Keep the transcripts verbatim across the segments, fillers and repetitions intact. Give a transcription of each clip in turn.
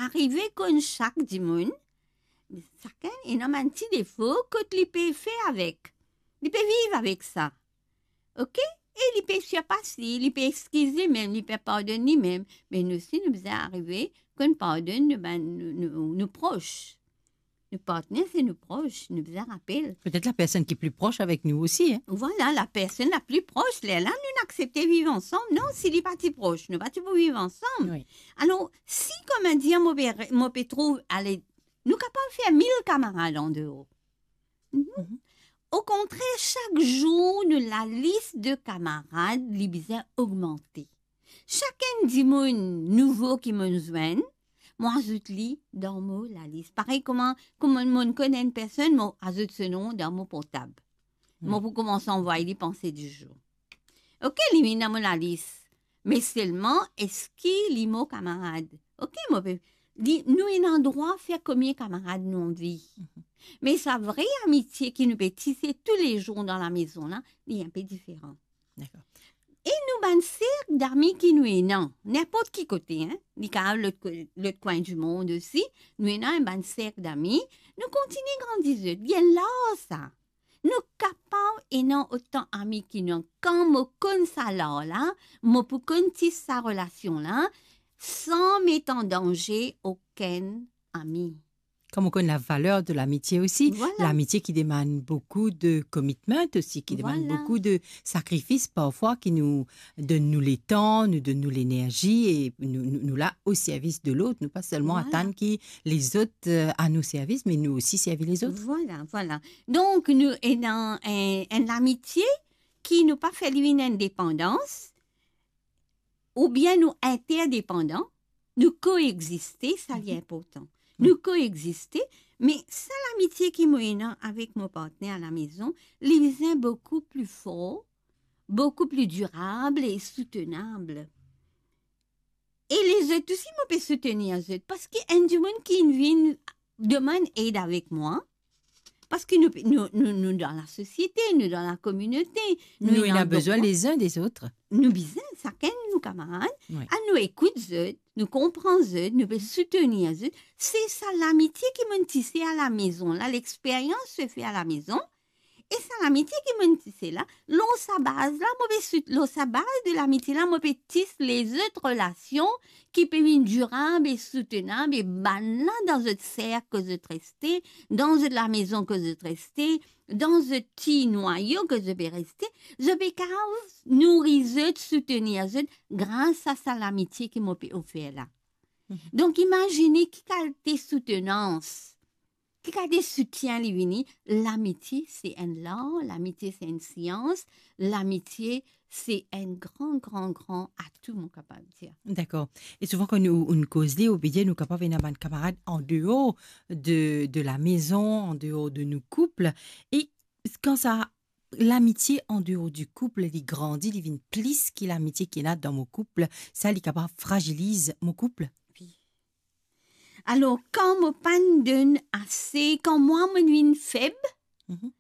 arive konn sak dimoun, sakenn ena bann ti defo kot li pe fer avek. Li pe viv avek sa. Oke? E li pe sirpas li, li pe exkiz limem, li pe pardonn limem. Me nou osi, nou bizin arive konn pardonn nou bann, nou, nou, nou pros. Nou partner, se nou pros, nou bizin rapel. Petet la personn ki pli pros avek nou osi, hein? Vwala, la personn la pli pros, lerla nou aksepte viv ansam. Non, si li pa ti pros, nou pa ti pou viv ansam. Wi. Alor, si, koumadir, mo pe, mo pe trouv, ale, nou kapav fer mil kamarad andeor. Mhm. Mhm. Okontrer, sak zour, nou lalis de kamarad, li bizin ogmante. Sakenn dimoun nouvo ki mo'nn zwenn, mo azout li dan mo lalis. Parey kouma, kouma mo'nn konn enn personn, mo azout so nom dan mo portab. Mo pou koumans anvway li panse dizour. Oke, li vinn dan mo lalis. Me selman, eski li mo kamarad? Oke, mo pe, li, nou ena drwa fer konbien kamarad nou anvi. Mhm. Me sa vre amitie ki nou pe tise toulezour dan lamezon la, li inpe diferan. Dakor. E nou bann serk dami ki nou ena, ninport ki kote, hein, li kapav lot ko-, lot kwin dimond osi, nou ena enn bann serk dami, nou kontigne grandi zot, gagn larg sa. Nou kapav ena otan ami ki nou. Kan mo konn sa lar la, mo pou konn tis sa relasion la, san met an danze okenn ami. Kan mo konn lavaler de lamitie osi, vwala, lamitie ki demann boukou de commitment osi, ki demann, vwala, boukou de sakrifis parfwa, ki nou donn nou letan, nou donn nou lenerzi e nou, nou, nou la o servis de lot. Nou pa selman, vwala, atann ki lezot, euh, a nou servis, me nou osi servi lezot. Vwala, vwala. Donk, nou ena enn, enn lamitie ki nou pa fer li vinn enn depandans, oubien nou interdepandan, nou koexiste, sa li, mhm, inportan. Wi. Nou koexiste, me sa lamitie ki mo ena avek mo partner alamezon, li bizin boukou pli for, boukou pli dirab e soutenab. E lezot osi, mo pe soutenir zot, parski enn dimoun ki vinn demann ed avek mwa, parski nou, nou, nou, nou dan lasosiete, nou dan lakominote, nou, nou ena, ena bezwin, donk, lezin dezot. Nou bizin, sakenn nou kamarad, wi, a nou ekout zot, nou konpran zot, nou pe soutenir zot. Se sa lamitie ki mo'nn tise alamezon la, lexperyans se fer alamezon. E sa lamitie ki mo'nn tise la, lor sa baz la, mo pe sout-, lor sa baz de lamitie la, mo pe tis lezot relasion ki pe vinn dirab e soutenab, e bannla dan zot serk kot zot reste, dan zot lamezon kot zot reste, dan zot ti nwayo kot zot pe reste, zot pe kapav nouri zot, soutenir zot gras a sa lamitie ki mo pe ofer la. Mhm. Donk, imazine ki kalite soutenans, ki kalite soutien li vini. Lamitie se enn lar, lamitie se enn sians, lamitie se enn gran, gran, gran atou, mo kapav dir. Dakor. E souvan kan nou, nou koz li, ou pe dir nou kapav ena bann kamarad andeor de, de lamezon, andeor de nou koup. E kan sa lamitie andeor di koup, li grandi, li vinn plis ki lamitie ki ena dan mo koup, sa li kapav fraziliz mo koup? Wi. Alor, kan mo pa'nn donn ase, kan mwa mo vinn feb, mhm,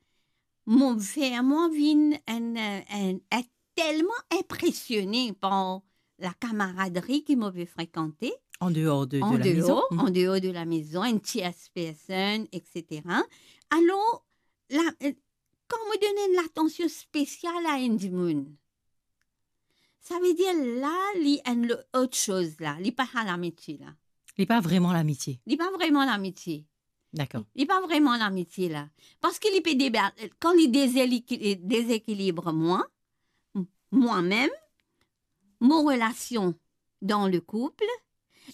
mo fer mwa vinn enn, enn, enn, telman inpresione par lakamaradri ki mo pe frekante. Andeor de, de lamezon. Andeor, mhm, andeor de lamezon, enn tiers personn, et cetera. Alor, la, kan mo donn enn latansion spesial a enn dimoun, savedir la, li enn lo-, lot soz la, li pa sa lamitie la. Li pa vreman lamitie. Li pa vreman lamitie. Dakor. Li pa vreman lamitie la. Parski li pe deba-, kan li dezeli-, dezekilib mwa, m-, mwa mem, mo relasion dan le koup,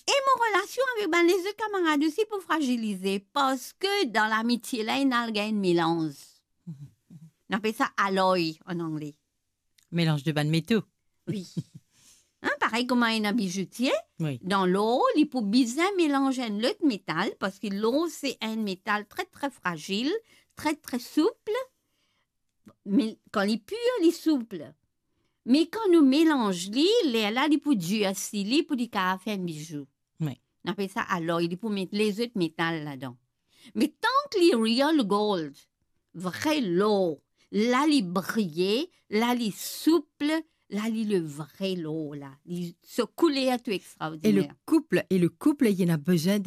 e mo relasion avek bann lezot kamarad osi pou frazilize, parski dan lamitie la, ena al gagn melanz. Nou apel sa alloy an angle. Melanz de bann meto. Wi. Hein, parey kouma ena bizoutie, wi, dan lor, li pou bizin melanz enn lot metal, parski lor se enn metal tre, tre frazil, tre, tre soupl. Me kan li pir, li soupl. Me kan nou melanz li, lerla li pou dirsi li pou li kapav fer enn bizou. Wi. Nou apel sa alloy, li pou met lezot metal ladan. Me tank li real gold, vre lor, la li briye, la li soupl, la li le vre lor la. Li, so kouler tou extraordiner. E le koup, e le koup, li ena bizin